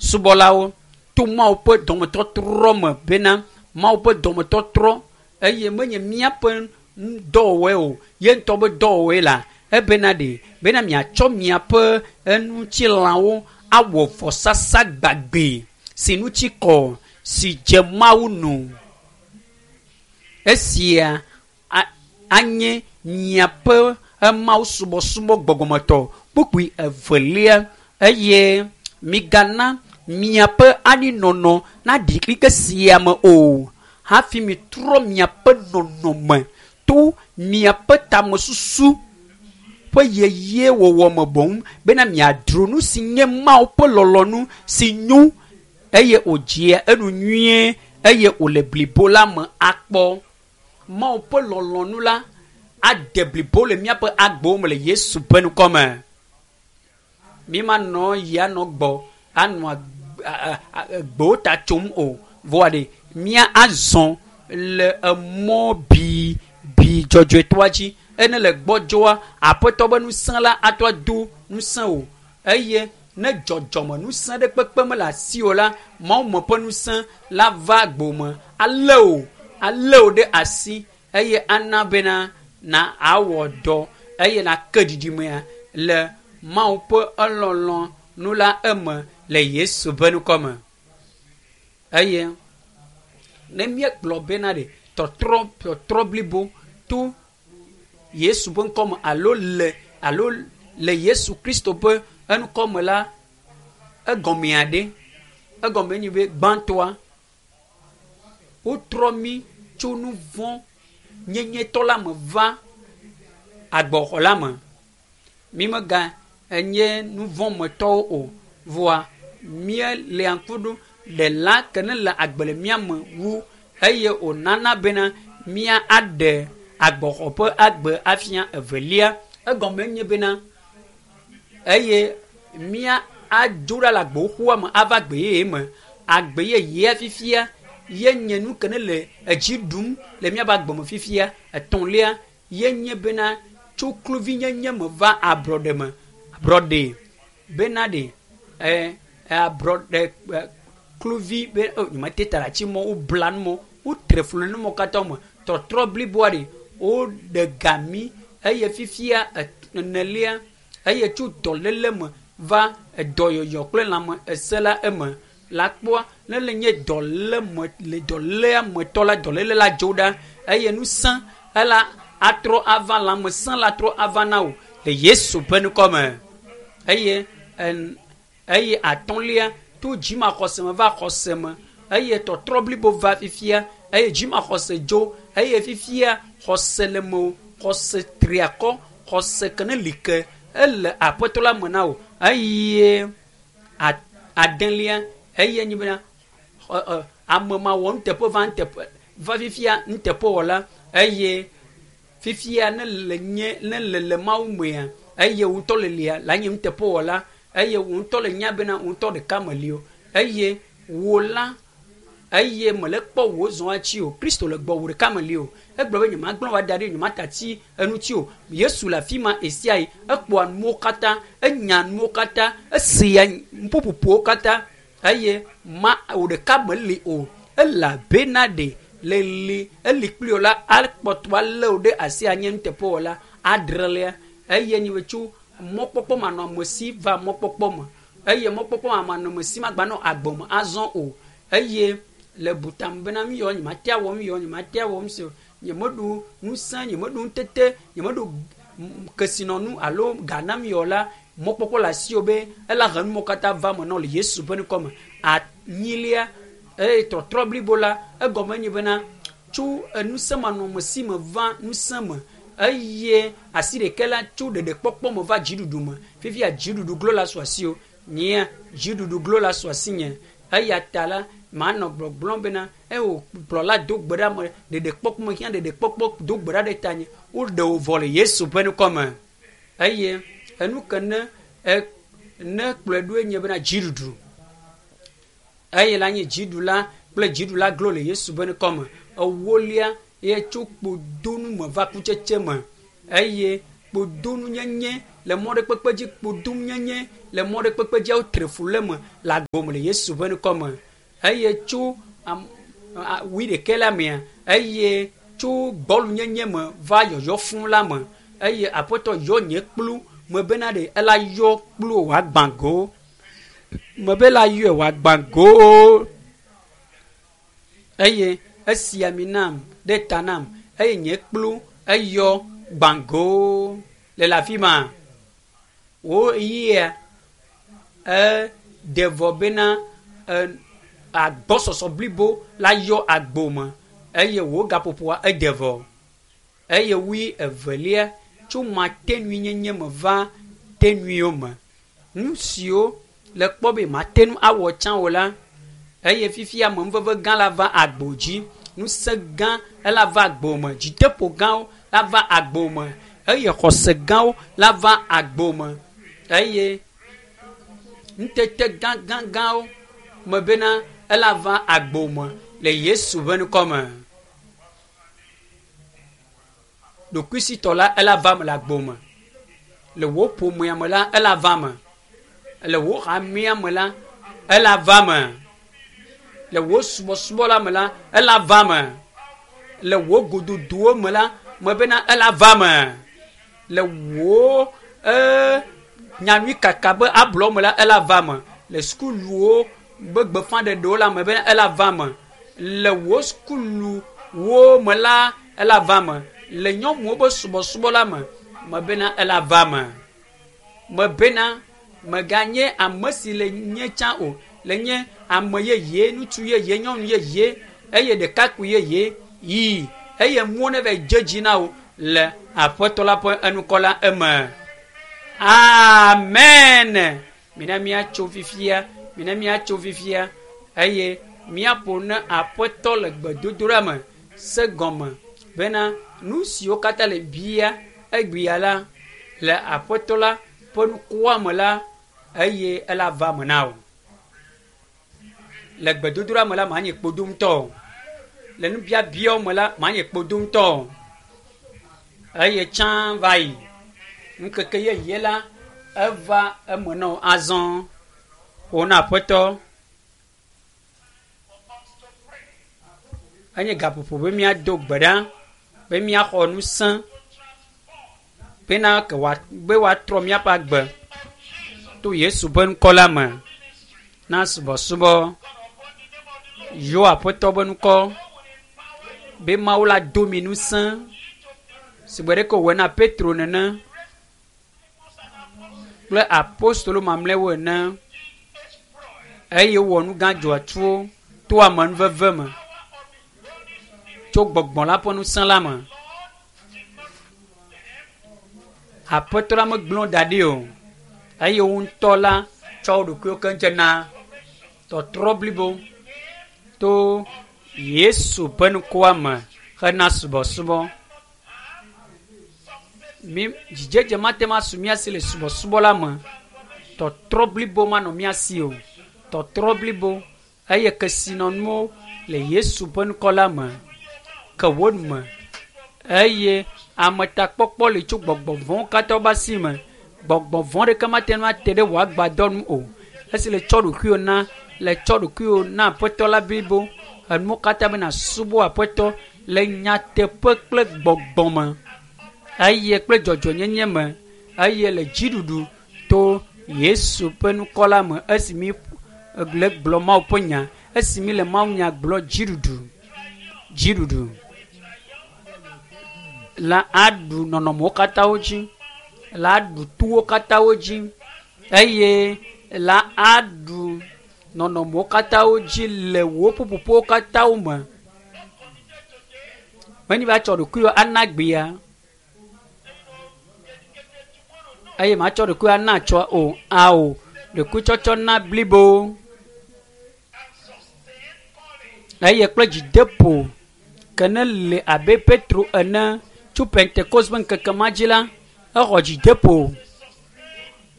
Subɔlawo to Mawu ƒe dɔmetɔtrɔ me bena Mawu ƒe dɔmetɔtrɔ eye menye míaƒe dɔwɔwɔe o, ye ŋutɔ be dɔwɔwɔe la ebena ɖe bena miatsɔ miaƒe eŋutilãwo awɔ vɔsasa gbagbe si ŋuti kɔ si dze Mawu nu. Esia anye miaƒe Mawu subɔsubɔ gbɔgbɔmetɔ. Kpukpui evelia eye migana miaƒe anyinɔnɔ naɖi xexe sia me o hafi mitrɔ miaƒe nɔnɔme to miaƒe tamesusu ƒe yeye wɔwɔ me boŋ bena miadro nu si nye Mawu ƒe lɔlɔ̃nu si nyo eye wòdzea enu nyuie eye wòle blibo la me akpɔ. Mawu ƒe lɔlɔ̃nu la ade blibo le míaƒe agbewo me le Yesu ƒe ŋkɔ me. Mi manɔ yi anɔ gbɔ anɔ gbewo ta tsom o. Vɔa ɖe mía azɔ le emɔ bi bi dzɔdzɔetɔa dzi. Ene le gbɔdzɔa aƒetɔ be ŋusẽ la atrɔ ado ŋusẽ o eye ne dzɔdzɔme ŋusẽ ɖe kpekpe mele asi o la, Mawu me ƒe ŋusẽ la va gbome alé o alé o ɖe asi eye ana bena na awɔ dɔ eye nake ɖiɖimea le Mawu ƒe elɔlɔ nu la eme le Yesu ƒe ŋkɔ me. Eye ne míegblɔ bena ɖe tɔtrɔ tɔtrɔ blibo to Yesu ƒe ŋkɔ me alo le alo le Yesu Kristo ƒe eŋkɔ me la, egɔmea ɖe egɔme nyi be gbãtɔa wotrɔ mí tso nu vɔ̃ nyenyetɔ la me va agbɔxɔ la me. Mi mega enye nu vɔ̃ metɔwo o vɔa míelia ŋku ɖo ɖela ke ne le agbe le mía me wu eye wònana bena mía aɖe agbɔxɔ ƒe agbe afia evelia. Egɔme nye bena eye mía adzo ɖa le agboxoa me ava agbe yeye me. Agbe yeyea fifia ye nye nu ke ne le edzi ɖum le míaƒe agbe me fifia. Etɔ̃lia ye nye bena tso kluvinyenye me va ablɔɖe me. Ablɔɖe bena ɖe ɛ ablɔɖe kluvi be o nyemete ta ɖe ati mɔ wobla nu mɔ wotre flu nu mɔ katã me tɔtrɔ bliboa ɖe woɖe ga mí eye fifia enelia eye tso dɔléle me va edɔyɔyɔ kple lãme ese la eme la kpɔa ne le nye dɔlé me le dɔléa metɔ la dɔléle la dzo ɖa eye ŋusẽ ela atrɔ ava lãmesẽ la trɔ ava na wò le Yesu ƒe ŋkɔ me eye eye atɔ̃lia to dzimaxɔse me va xɔse me eye tɔtrɔ blibo va fifia eye dzimaxɔse dzo eye fifia xɔse le me o xɔse tri akɔ xɔse ke ne li ke ele aƒetɔ la me na wò eye adelia eye nyi bena ame ma wɔ nuteƒe va nuteƒe va fifia nuteƒewɔla eye fifia ne le nye ne le le Mawu mea eye wò ŋutɔ le lia la nye nuteƒewɔla eye wò ŋutɔ le nya bena wò ŋutɔ ɖeka meli o eye wò la eye mele kpɔ wò zɔn atsi o Kristo le gbɔ wò ɖeka meli o egblɔ be nyemagblɔ wa da ɖi nyemata tsi eŋuti o Yesu le afi ma ɣe ekpɔa nuwo katã enya nuwo katã esea nuƒoƒoƒowo katã eye ma wò ɖeka meli o elabena ɖe le li eli kpli wò la akpɔtɔ alé wò ɖe asi anye nuteƒewɔla adrelia eye nyi be tso mɔkpɔkpɔ manɔamesi va mɔkpɔkpɔ me eye mɔkpɔkpɔ manɔamesi magbanɔ agbe me azɔ o eye le butam bena nu yawo nyemate awɔ nu yawo nyemate awɔ nu si nyemeɖo ŋusẽ nyemeɖo ŋutete nyemeɖo kesinɔnu alo ga nam yawo la mɔkpɔkpɔ le asiwò be ela he numɔwo katã va me na le Yesu ƒe ŋkɔ me. Anyilia eye tɔtrɔ blibo la egɔme nye bena tso ŋusẽ manɔamesi me va ŋusẽ me eye asi ɖeka la tso ɖeɖekpɔkpɔ me va dziɖuɖu me. Fifia dziɖuɖu glo la su asiwò nyea dziɖuɖu glo la su asinye eya ta la manɔ gbɔgblɔm bena eye kplɔla do gbe ɖa me ɖeɖekpɔkpɔ me hiã ɖeɖekpɔkpɔ do gbe ɖa ɖe tanye woɖe wò vɔ le Yesu ƒe ŋkɔ me eye enu ke ne ne kplɔe ɖoe nye bena dziɖuɖu eye la nye dziɖula kple dziɖula glo le Yesu ƒe ŋkɔ me ewolia ye tso kpodonu me va kutsetse me eye Kpodonunyenye le mɔ ɖe kpekpe dzi kpodonunyenye le mɔ ɖe kpekpe dzi wotre fu le me le agbo me le Yesu ƒe ŋkɔ me. Eye tso am wui ɖekɛ la mea eye tso gbɔlunyenye me va yɔyɔ fũ la me eye aƒetɔ yɔ nye kplu me bena ɖe ela yɔ kplu wòagbã go me be la yɔe wòagbã go eye esi ami nam ɖe ta nam eye nye kplu eyɔ gbã go le le afi ma wo yia eɖe vɔ bena e agbɔsɔsɔ blibo la yɔ agbo me eye wò gaƒoƒoa ede vɔ eye wui evelia tso matenuinyenye me va tenuiwo me. Nu siwo le kpɔ be mate ŋu awɔ tsã o la eye fifia amenuveve gã la va agbo dzi ŋusẽ gã ela va agbo me dzideƒo gãwo la va agbo me eye xɔse gãwo la va agbo me eye ŋutete gãgãgãwo me bena ela va agbo me le Yesu ƒe ŋkɔ me. Ɖokuisitɔ la ela va me le agbo me. Le wò ƒomea me la ela va me. Le wò hamea me la ela va me. Le wò subɔsubɔ la me la ela va me. Le wò gododowo me la me bena ela va me. Le wò ee nyanyui kaka be ablɔ me la ela va me. Le sukuluwo be gbeƒãɖeɖewo la me bena ela va me. Le wò sukuluwo me la ela va me. Le nyɔnuwo be subɔsubɔ la me me bena ela va me. Me bena meganye ame si le nye tsã o le nye ame yeye ŋutsu yeye nyɔnu yeye eye ɖekakpui yeye yi eye nuwo ne va dze dzi na wo le aƒetɔ la ƒe enukɔ la eme. Amen. Mina míatso fifia mina míatso fifia eye míaƒo ne aƒetɔ le gbedodoɖa me se gɔme bena nu siwo katã le bia egbea la le aƒetɔ la ƒe nukua me la eye ela va me na wò. Le gbedodoɖa me la manye kpodoŋutɔ o. Le nubiabiawo me la manye kpodoŋutɔ o. Eye tsã va yi ŋkeke yeye la eva eme na wò azɔ. Ƒo na aƒetɔ. Enye gaƒoƒo be míado gbe ɖa be míaxɔ ŋusẽ bena ke wòa be woatrɔ míaƒe agbe to Yesu ƒe ŋkɔ la me na subɔsubɔ. Yɔ aƒetɔ ƒe ŋkɔ be Mawu la do mi ŋusẽ sigbe ɖeke wòwɔe na Petro nene kple apostolo mamlɛwo ene eye wowɔ nu gã dzɔatsuwo to amenuveve me tso gbɔgbɔ la ƒe ŋusẽ la me. Aƒetɔ la megblẽ wo da ɖi o eye wo ŋutɔ la tsɔ wo ɖokuiwo keŋ dze na tɔtrɔ blibo to Yesu ƒe ŋkɔa me hena subɔsubɔ. Mi dzidzedze mate ŋu asu mía si le subɔsubɔ la me. Tɔtrɔ blibo manɔ mía si o. Tɔtrɔ blibo eye kesinɔnuwo le Yesu ƒe ŋkɔ la me ke wo me eye ametakpɔkpɔ li tso gbɔgbɔ vɔ̃wo katã ƒe asi me. Gbɔgbɔ vɔ̃ ɖeke mate ŋu ate ɖe wò agbadɔ nu o. Esi le tsɔ ɖokuiwò na le tsɔ ɖokuiwò na aƒetɔ la blibo enuwo katã be nàsubɔ aƒetɔ le nyateƒe kple gbɔgbɔ me eye kple dzɔdzɔnyenye me eye le dziɖuɖu to Yesu ƒe ŋkɔ la me esi mi le gblɔ Mawu ƒe nya esi mi le Mawu nya gblɔ dziɖuɖu dziɖuɖu la aɖu nɔnɔmewo katã wo dzi la aɖu towo katã wo dzi eye la aɖu nɔnɔmewo katã wo dzi le wò ƒuƒoƒowo katã wo me. Menye be atsɔ ɖokuiwò ana gbea eye matsɔ ɖokuiwò ana atsɔ o ao ɖokuitsɔtsɔ na blibo eye kple dzideƒo ke ne le abe Petro ene tso Pentekost ƒe ŋkeke ma dzi la exɔ dzideƒo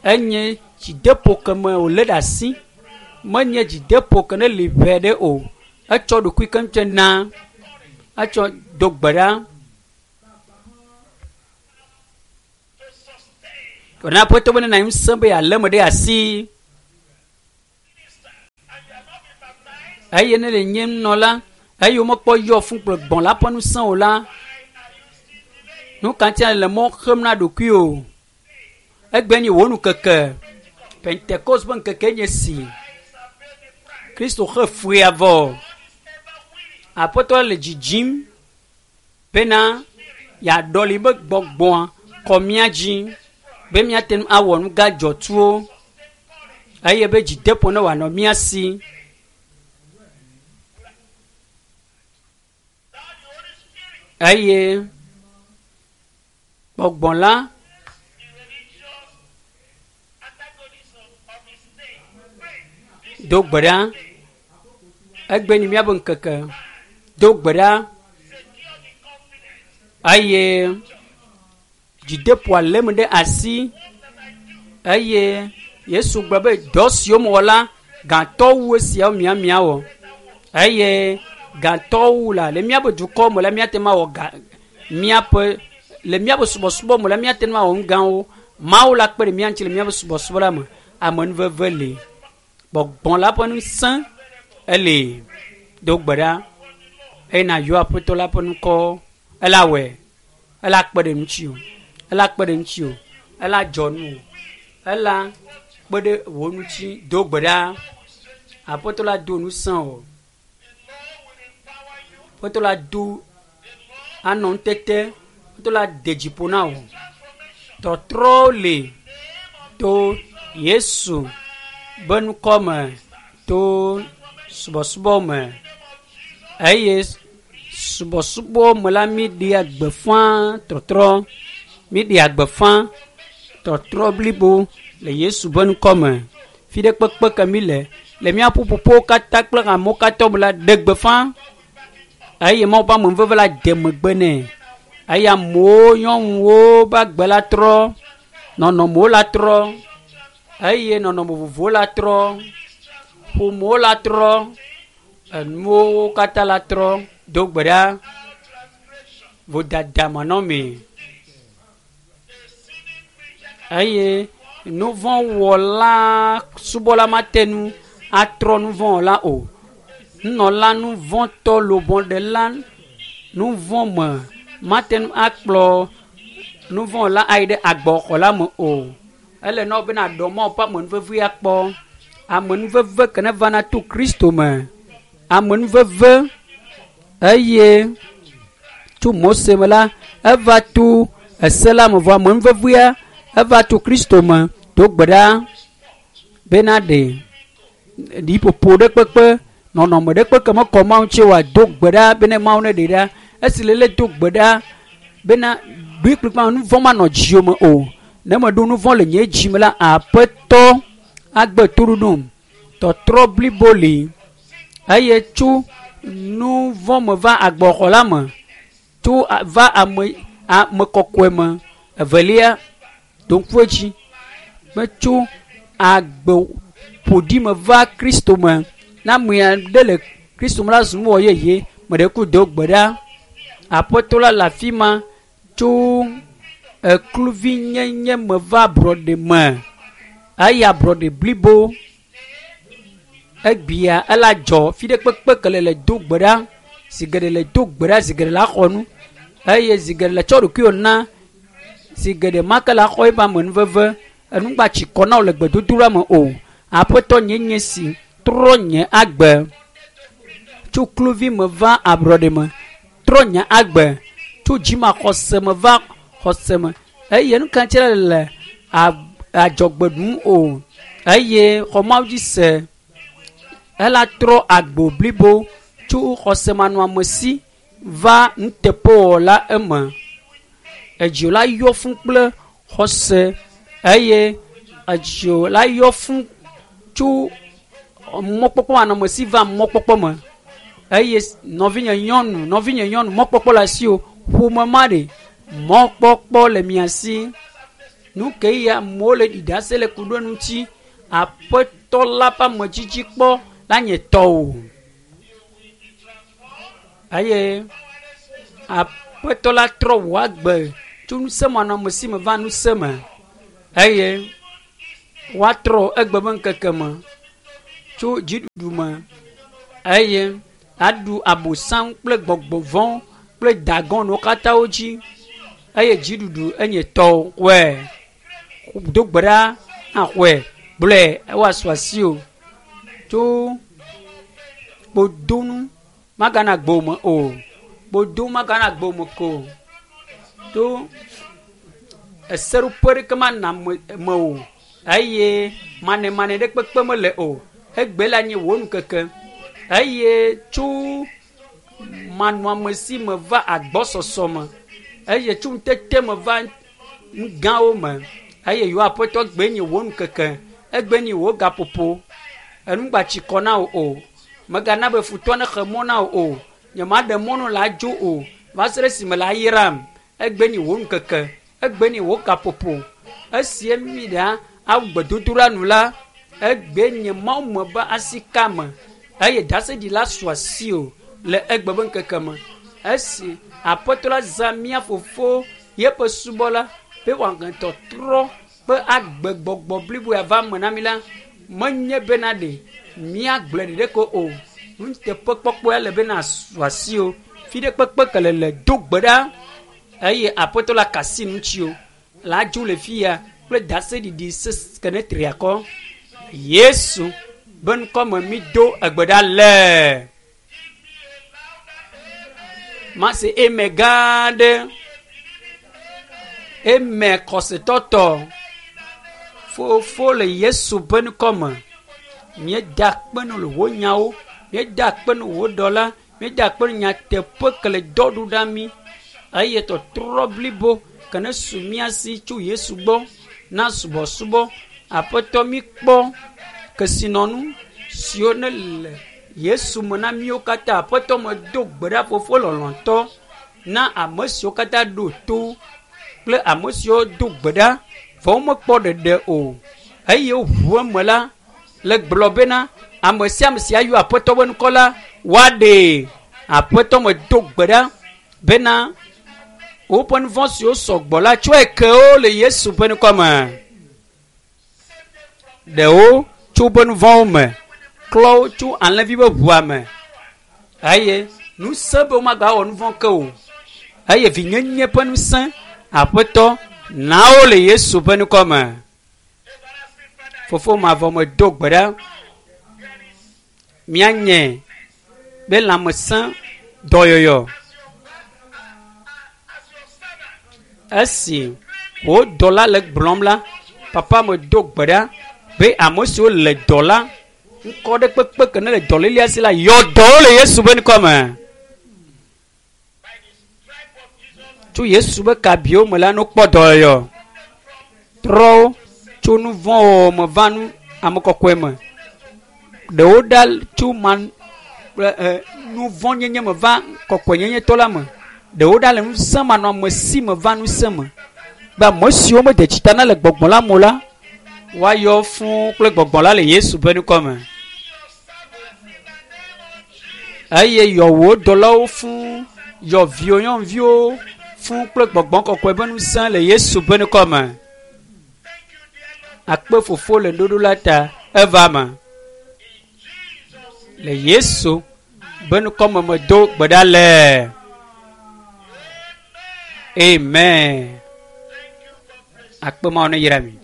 enye dzideƒo ke me wòlé ɖe asi menye dzideƒo ke ne li ʋɛ ɖe o etsɔ ɖokui keŋkeŋ na etsɔ do gbe ɖa. Wòna Aƒetɔ be nena ŋusẽ be yealé me ɖe asi. Eye ne le nye nunɔla eye womekpɔ yɔ fũ kple gbɔ̃ la ƒe ŋusẽ o la, nu ka ŋuti le mɔ xem na ɖokuiwò? Egbe nye wò nukeke. Pentekost ƒe ŋkeke nye si. Kristo xe fuea vɔ. Aƒetɔ le dzidzim bena yeaɖɔli be gbɔgbɔa kɔ mía dzi be míate ŋu awɔ nu gã dzɔtsuwo eye be dzideƒo ne wòanɔ mía si. Eye gbɔgbɔ la do gbe ɖa. Egbe nyi míaƒe ŋkeke. Do gbe ɖa eye dzideƒoa lém ɖe asi eye Yesu gblɔ be dɔ siwo mewɔ la gãtɔ wu esiawo miamiawɔ eye gãtɔ wu la le míaƒe dukɔ me la míate ŋu awɔ ga míaƒe le míaƒe subɔsubɔ me la míate ŋu awɔ nu gãwo. Mawu la kpe ɖe mía ŋuti le míaƒe subɔsubɔ la me. Amenuveve li. Gbɔgbɔ la ƒe ŋusẽ eli. Do gbe ɖa eye nàyɔ Aƒetɔ la ƒe ŋkɔ. Ela wɔe. Ela kpe ɖe ŋutiwò. Ela kpe ɖe ŋutiwò. Ela dzɔ nu wò. Ela kpe ɖe wò ŋuti. Do gbe ɖa. Aƒetɔ la do ŋusẽ wò. Aƒetɔ la do anɔ ŋutete. Aƒetɔ la de dzi ƒo na wò. Tɔtrɔwo li to Yesu be ŋkɔ me to subɔsubɔ me eye subɔsubɔ me la míɖea gbeƒã tɔtrɔ. Míɖea gbeƒã tɔtrɔ blibo le Yesu be ŋkɔ me. Fi ɖe kpekpe ke mí le le mía ƒuƒoƒowo katã kple amewo katã me la ɖe gbeƒã eye Mawu ƒe amenuveve la de megbe nɛ eye amewo nyɔnuwo ƒe agbe la trɔ, nɔnɔmewo la trɔ eye nɔnɔme vovovowo la trɔ, ƒomewo la trɔ, enuwo katã la trɔ. Do gbe ɖa vodada manɔmee eye nuvɔ̃wɔla subɔla mate ŋu atrɔ nuvɔ̃wɔla o. Nunɔla nuvɔ̃tɔ lobɔɖela nuvɔ̃ me mate ŋu akplɔ nuvɔ̃wɔla ayi ɖe agbɔxɔ la me o. Ele na wò be nàɖɔ Mawu ƒe amenuveve akpɔ. Amenuveve ke ne vana to Kristo me. Amenuveve eye tso Mose me la eva to ese la me vɔ amenuvevea eva to Kristo me. Do gbe ɖa bena ɖe ɖiƒoƒo ɖe kpekpe nɔnɔme ɖe kpekpe mekɔ Mawu ŋuti oa do gbe ɖa bene Mawu ne ɖe ɖa. Esi lele do gbe ɖa bena ɖoe kplikpaa nu vɔ̃ manɔ dziwò me o. Ne meɖo nu vɔ̃ le nye dzi me la Aƒetɔ agbe toɖoɖom. Tɔtrɔ blibo li eye tso nu vɔ̃ me va agbɔxɔ la me tso va ame ame kɔkɔe me. Evelia, ɖo ŋku edzi be tso agbe ƒoɖi me va Kristo me. Ne ame aɖe le Kristo me la zu nuwɔ yeye. Me ɖe ku do gbe ɖa. Aƒetɔ la le afi ma tso ekluvinyenye me va ablɔɖe me. Eye ablɔɖe blibo egbea ela dzɔ fi ɖe kpekpe ke le le do gbe ɖa zi geɖe le do gbe ɖa zi geɖe la xɔ nu eye zi geɖe le tsɔ ɖokuiwò na zi geɖe ma ke la xɔ eƒe amenuveve enugba tsi kɔ na wò le gbedodoɖa me o. Aƒetɔ nye nye si trɔ nye agbe tso kluvi me va ablɔɖe me trɔ nye agbe tso dzimaxɔse me va xɔse me eye nu ka ŋuti le adzɔgbe ɖum o eye xɔ Mawu dzi se ela trɔ agbo blibo tso xɔsemanɔamesi va nuteƒewɔla eme. Edziwò la yɔ fũ kple xɔse eye edziwò la yɔ fũ tso mɔkpɔkpɔ manɔamesi va mɔkpɔkpɔ me eye nɔvinye nyɔnu nɔvinye nyɔnu mɔkpɔkpɔ le asiwò ƒome ma ɖe mɔkpɔkpɔ le mia si. Nu ke ye amewo le ɖi ɖase le ku ɖe ŋuti aƒetɔ la ƒe amedzidzi kpɔ la nye tɔwò eye aƒetɔ la trɔ wò agbe tso ŋusẽmanɔamesi me va ŋusẽ me. Eye woatrɔ egbe be ŋkeke me tso dziɖuɖu me eye aɖu abosam kple gbɔgbɔ vɔ̃ kple dagɔnwo katã wo dzi eye dziɖuɖu enye tɔwo wɔe do gbe ɖa axɔe gblɔe woasu asi o tso kpodonu magana gbome o kpodo magana gbome ko to eseɖoƒe ɖeke mana me o eye manemane ɖe kpekpe mele o egbe la nye wò ŋkeke eye tso manɔamesi me va agbɔsɔsɔ me eye tso ŋutete me va nu gãwo me eye yewo aƒetɔ gbe nye wò ŋkeke egbe nye wò gaƒoƒo enugbatsi kɔ na wò o megana be futɔ ne xe mɔ na wò o nyemaɖe mɔ nɔ la dzo o va se ɖe esime la yram egbe nye wò ŋkeke egbe nye wò gaƒoƒo esie mi ɖa awu gbedodoɖa nu la egbe nye mawu me be asika me eye daseɖila su asi o le egbe be ŋkeke me esi aƒetɔ la zã mía fofo yeƒe subɔla be wòahe tɔtrɔ ƒe agbegbɔgbɔ bliboe ava me na mi la menye bena ɖe míagblɔe ɖeɖe ko o nuteƒekpɔkpɔe le bena su asi o fi ɖe kpekpe ke le le do gbe ɖa eye aƒetɔ la kasi ŋuti o la dzo le fi ya kple daseɖiɖi sese ke ne tri akɔ yesu be ŋkɔme mi do egbe ɖa le mase eme gã aɖe eme xɔsetɔtɔ fofo le yesu ƒe ŋkɔme míeda akpe nu le wò nyawo míeda akpe nu wò dɔla míeda akpe nu nyateƒe ke le dɔ ɖu ɖa mí eye tɔtrɔ blibo ke ne su mía si tso yesu gbɔ na subɔsubɔ aƒetɔ mi kpɔ kesinɔnu siwo ne le yesu me na míwo katã aƒetɔ me do gbe ɖa fofo lɔlɔ̃tɔ na ame siwo katã ɖo to kple ame siwo do gbe ɖa vɔ womekpɔ ɖeɖe o eye woʋu eme la le gblɔ bena ame sia ame si ayɔ aƒetɔ ƒe ŋkɔ la woaɖee aƒetɔ me do gbe ɖa bena woƒe nu vɔ̃ siwo sɔgbɔ la tsɔe ke wo le yesu ƒe ŋkɔ me ɖewo tso woƒe nu vɔ̃wo me klɔ wo tso alẽvi ƒe ʋua me eye ŋusẽ be womagawɔ nu vɔ̃ ke o eye vinyenye ƒe ŋusẽ aƒetɔ na wo le yesu ƒe ŋkɔ me fofo mavɔ me do gbe ɖa míanye be lãmesẽ dɔyɔyɔ esi wò dɔla le gblɔm la papa me do gbe ɖa be ame siwo le dɔ la ŋkɔ ɖe kpekpe ke ne le dɔlélia si la yɔ dɔwo le yesu ƒe ŋkɔ me tso yesu ƒe kabiwo me la no kpɔ dɔyɔyɔ trɔwo tso nu vɔ̃ wɔwɔ me va nu ame kɔkɔe me ɖewo ɖa tso man kple ɛ nu vɔ̃ nyenye me va kɔkɔenyenye tɔ la me ɖewo ɖa le ŋusẽ manɔame si me va ŋusẽ me be ame siwo mede tsita na le gbɔgbɔ la me o la woayɔ fũu kple gbɔgbɔ la le yesu ƒe ŋkɔ me eye yɔ wò dɔlawo fũu yɔ viwò nyɔnuviwo fũu kple gbɔgbɔ kɔkɔe ƒe ŋusẽ le yesu ƒe ŋkɔ me akpe fofo le nuɖuɖu la ta eva me le yesu ƒe ŋkɔ me medo gbe ɖa le amen akpe mawo ne yra mi.